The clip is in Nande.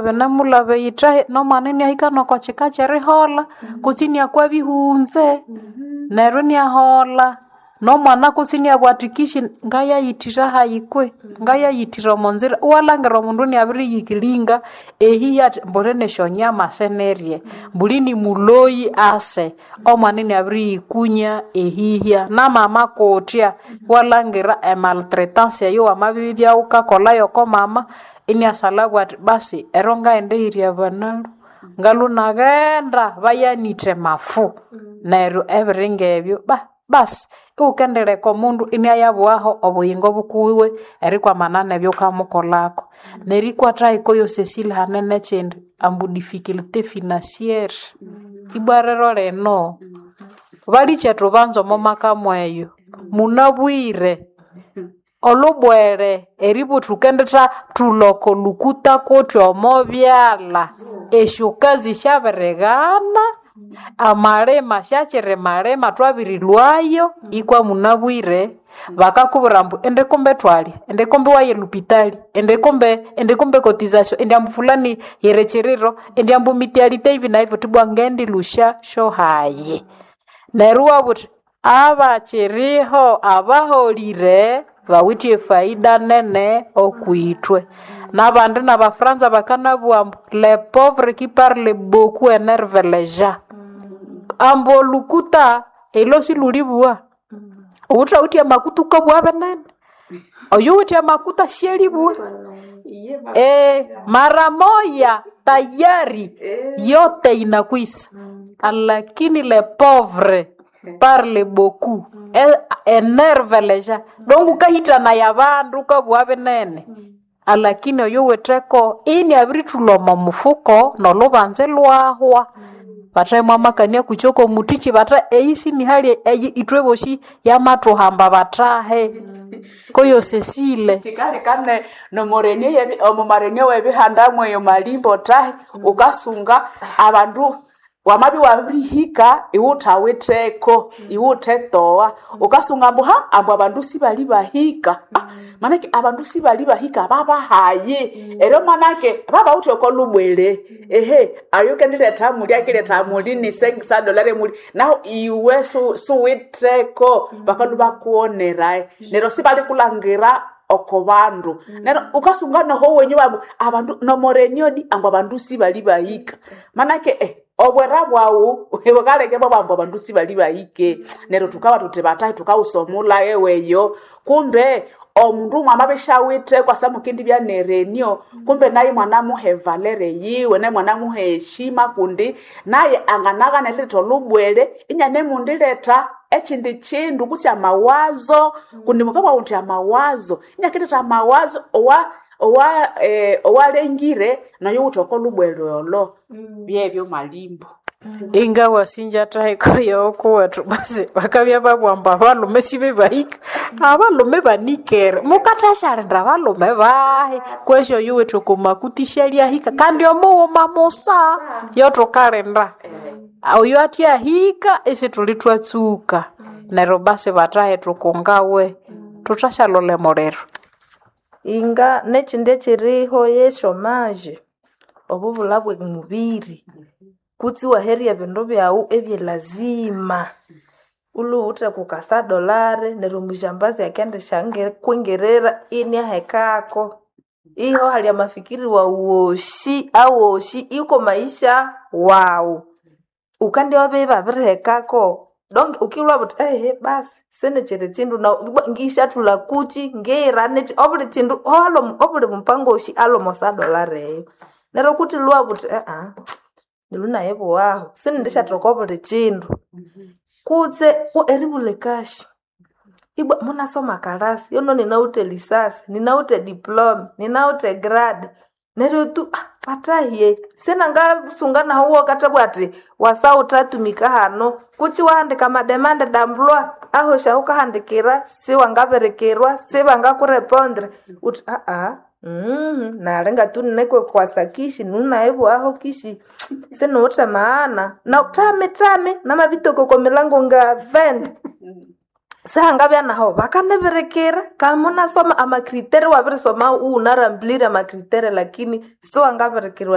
Binemulaba eyithahi nomwana iniahika noko kika kyeriholha kutse iniakwa bihunze neryo iniaholha nomwana kutse iniabugha athi kishi ngayayithira hayi kwe ngayayithira omo nzira iwalhangira omundu iniabiriyikilinga ehihi athi mbuli nesyonyama sinirye mbuli nimuloyi ase omwana iniabiriyikunya ehihya namama kutya iwalhangira emaltretance eyo wamabibya wukakolha yoko mama iniasalha athi basi ero ngaghenda eyirya abanalhu ngalhu naghenda bayanithe mafu neryo ebiri ngebyo basi iwukendireka omundu iniayabughaho obuyingo bukuwiwe erikwamana nebyukamukolhako nerikwatha hiko Cecile hane nekyindi ambu difficulté financière ibwa rero lino balikye thubanza omo maka mweyo munabwire olhubwere eribugha thukenditha thulha oko lukuta kuthi omo byalha esyokazi syabirighana amalima syakyirimalima thwabirilhwayo ikwa munabwire bakakubwira ambu indi kumbe thwalya indi kumbe waye elupitali indi kumbe indi kumbe cotization indi ambu fulani yiri kyiriro indi ambu mitialite ivi na ivi uthi ibwa ngendilusya syohayi neryo iwabugha uthi abakyiriho abaholire bawithe efaida nene okwithwe nabandi nabafranza bakanabugha ambu le pauvre qui parle beaucoup enerve les gens ambu olukuta elo silhulibugha wuthawithe amakuta wukabugha binene oyuwithe amakuta syalibugha mara moya tayari yote inakwisa lakini le pauvre parle beaucoup enerve les gens donc wukahithanaya abandu wukabugha binene alakini oyuwitheko iniabirithulha omo mufuko nolhubanza ilhwahwa bathe mwamakania kutsi oko muthikyi bathe eyi sinihali eyi ithwe bosi yamathuhamba bathahe koyo Cecile Kyikaleka nomurenie omumarenie webihanda mweyo malimbo tahi ukasunga abandu wamabya iwabirihika iwuthawitheko iwuthetowa ukasunga ambu ha ambu abandu sibali bahika manake abandu sibali bahika babahayi eryo manake babawithe oko lubwere ehe ayo kendiletha muli akiletha muli ni sengisa dolare muli nahu iwe suwitheko bakalhu bakuwonerae neryo sibalikulhangira oko bandu neryo ukasunga noho wenyu bambu abandu nomoreniodi ambu abandu sibali bahika manake obwera bwawu bukaleka bwabambu abandu sibali bahike neryo thukaba thuthi bathahi thukawusomulha eweyo kumbe omundu mwamabya kwasa mukendibya nerenio kumbe naye mwanamuha evalere yiwe naye mwanamuha eheshima kundi naye anganaghana eriletha olhubwere inyanemundiletha ekyindi kyindu kutse amawazo kundi mukabugha muthi amawazo inyakiletha amawazo owa owa owalengire nayo wuthi oko lhubwere olho byebyo malimbo ingawasinja thahiko yokuwethu basi bakabya babugha ambu abalhume sibebahika abalhume banikere mukathasyalinda abalhume bahi kwesi oyuwithe oko makuti isyalyahika kandi omughuma musa yothukalinda oyo athyahika isithuli thwatsuka neryo basi bathahi thukungawe thuthasyalola emuliro Inga nekyindi ekyiriho yesyomaje obubulha bwemubiri kutse iwaherya ebindu byawu ebyelazima ilhuwithe kukasa dolare neryo omujambazi akendisyakwingirira iniahekako iho hali amafikiri wawu wosi awosi iko maisha wawu wukandibya ibabirihekako donc wukilhwa buthi ehe basi sinikyiri kyindu ngisyathulha kukyi ngiyira nikyi obuli kyindu obuli mupango wosi alhi omo sadolare eyo neryo kuthilhwa buthi nilhu nayibughaho sinindisyatheka obuli kyindu kutse eribulha ekashi ibwa munasoma kalasi yono ninawithe lisasi ninawithe diploma ninawithe grade neryo tu batahye sinangasunga nahu wokathabugha athi wasawuthatumika hano kutsi iwahandika amademande d'emploi ahosi ahukahandikira siwangabirikirwa sibangakurepondre wuthi nali ngathunine kishi nunayibughaho kishi siniwithe maana na thami thami namabitoka oko milango nga 20. Sihangabya naho bakanibirikira kamunasoma amakritere wabirisoma uwunarambulire amakritere lakini siwangabirikirwa.